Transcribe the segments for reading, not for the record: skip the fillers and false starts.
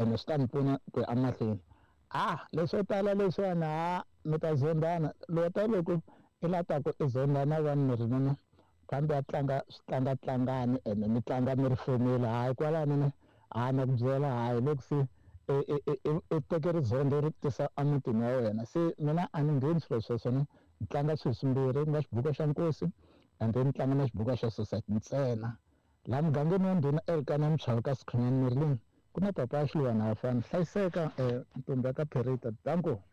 Ene swi ta ni pfuna ku ya emahlweni. A leswo tala leswiwani ha mi ta zondana lota loko i la ta ku i zondana vanhu mi ri nuna kambe a tlanga switlangatlangani ene mi tlanga mi ri family hayi kwalano ne ha na ku byela hayi loko se i teke rizondo ri tisa emutini wa wena se mina a ni ngheni swilo sweswo ne ni tlanga swilo swimbirhi ku nga xibuku xa nkosi and then ni tlanga na xibuku xa society ntsena laha mugangeni wa ndhuna Elkana Mchava ka Sikhunyani Merlin ku na papa ya Xiluwana Hafani hlayiseka ntombi ya ka Perita danko.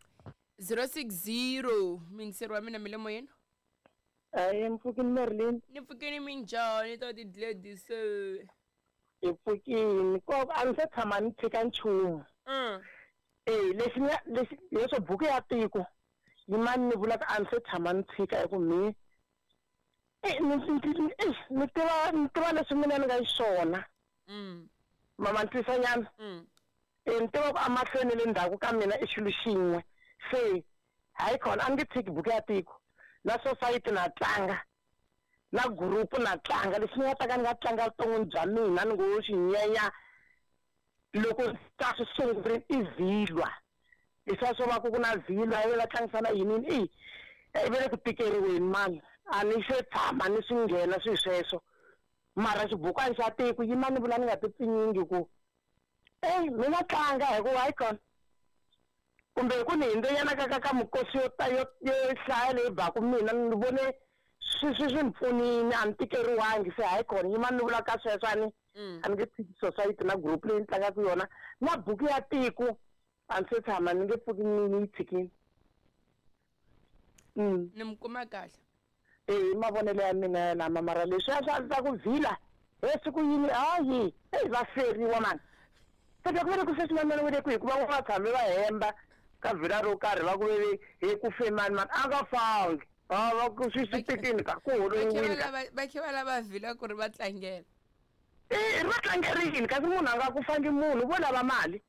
060 mingiseri wa mina mi le moyeni. Ayi mpfukini Merlin. Ni pfukini minjhani ta ti Gladys? Hi pfukini ko a ni se tshama ni tshika nchumu. Eh lexi ni lexi leswo buku ya tiko yimani ni vulaka a ni se tshama ni tshika hi ku mi ni tiva ni tiva leswi mina ni nga xiswona. Mama ni twisa nyana. Ni tiva ku amahlweni le ndzhaku ka mina i xilo xin'we se hayi khona a ni nge tshiki buku ya tiko na society na tlanga na group na tlanga lexi ni nga ta ka ni nga tlanga vuton'wini bya mina ni ngo xi nyenya loko ta swi sungurile i vhilwa leswiya swo va ku ku na vhilwa ivi va tlangisana yini yini i ve le ku tikeriweni mani a ni se tshama ni swi nghena swilo sweswo mara xibukwana xa tiko yima ni vula ni nga ti pfinyingi ku eyi mi nga tlanga hi ku hayi kona kumbe hi ku ni hindzenyana ka ka ka mikosi yo ta yo yo hlaya leyi baku mina ni vone swi swi swi ni pfunile a ni tikeriwangi se hayi kona yima ni vula ka sweswo a ni a ni nge tshiki society na group leyi ni tlangaka yona na buku ya tiko a ni se tshama ni nge pfuki ni ni yi tshikile. Ni mi kuma kahle. E mavonelo ya mina ya lama mara leswiya swa swa ku vhila he siku yini hayi eyi va feriwa mani se ku ve ku sweswi manana we le kwihi hikuva va tshame va hemba ka vhila ro karhi va ku ve he ku fe mani mani a nga fangi a va ku swi swi tekini ka ku holowiwini ka Va khe va lava vhila ku ri va tlangela. E ri va tlangerini kasi munhu a nga ku fangi munhu vo lava mali.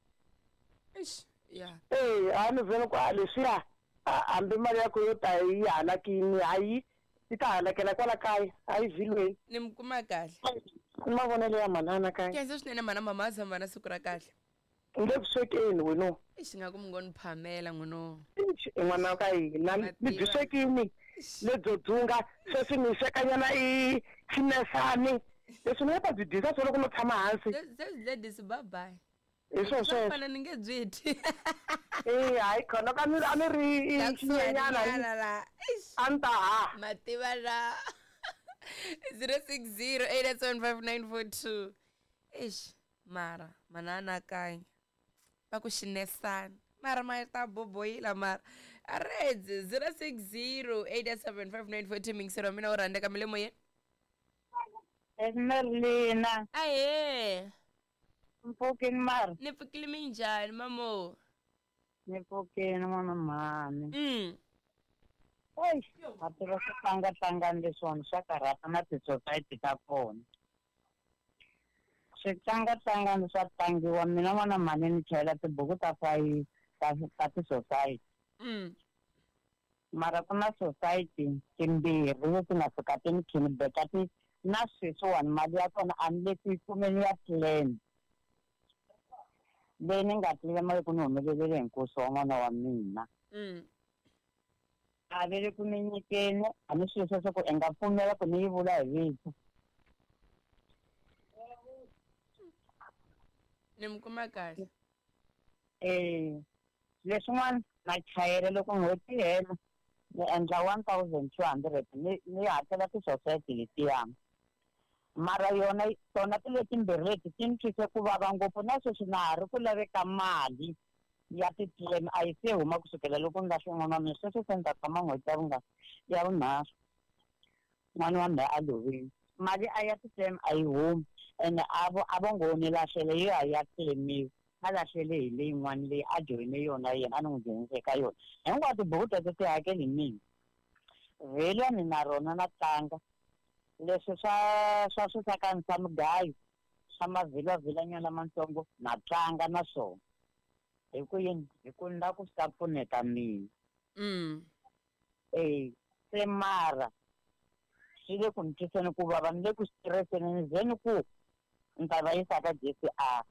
Eish ya. E a ni vona ku a leswiya a hambi mali ya ku yo ta yi halakini hayi yi ta halakela kwala kaya hayi vhilweni. Ni mi kuma kahle. I mavonelo ya manana kaya. Khensa swinene mhana mama tshama na siku ra kahle. Ni le ku swekeni weno. Eish nga ku mi ngo ni phamela n'wino. Eish i n'wana wa ka hina ni byi swekini lebyo dzunga sweswi ni swekanyana i xinesani leswi ni nga ta byi dyisa swo loko no tshama hansi. Sesi Gladys bye bye. Hi swo sweswo. Fana ni nge byi dyi. Eh hayi khona ka ni a ni ri La kusuhani xinyenyana nyana la. Eish. a ni ta ha. Mativa la. 060 8875942. Eish mara mana anakanya. Va ku xinesana. Mara ma ta boboyila mara. Aredzi 060 8875942 mingisero wa mina wo rhandzeka mi le moyeni. Merlina. Ahee. Mpfukini mara. Ni pfukile minjhani mamo? Ni pfukini n'wana mhani. Eish, a tiva swi tlangatlangani leswiwani swa karhata na ti-society ta kona. Swi tlangatlangani swa tlangiwa mina n'wana mhani ni chayela tibuku ta fayi ta ta ti-society. Mara ku na society timbirhi leti nga fika ti ni khinibeka ti na sweswiwani mali ya kona a ni le ku yi kumeni ya plan leyi ni nga tlilema loko ni humelelele hi nkosi wa n'wana wa mina. A ve le ku ni nyikeni a ni swilo sweswo ku i nga pfumela ku ni yi vula hi vito. Ni mi kuma kahle. Eh leswin'wana na chayela loko n'hweti yi hela ni endla 1200 ni ni hakela ti-society letiya mara yona tona ti letimbirhi leti ti ni twise ku vava ngopfu na sweswi na ha ri ku laveka mali ya ti-claim a yi se huma kusukela loko ni lahle n'wana wa mina sweswi se ni ta tshama n'hweti ya vunga ya vunharhu n'wana wa mina a lovile mali a ya ti-claim a yi humi ene a vo a vo ngo ni lahlele yo a ya claimiwa a lahlele hi leyin'wana leyi a joyine yona yena a ni n'wi nghenise eka yona hinkwato tibuku teto ti hakeli hi mina vhela ni na rona na tlanga leswi swa swa swisakani swa mugayo swa mavhilavhilanyana lamatsongo na tlanga na swona hi ku yini hi ku ni lava ku swi ta pfuneta mina. E se mara swi le ku ni twiseni ku vava ni le ku stresseni ni ze ni ku ni ta va yisa ka J_C_R.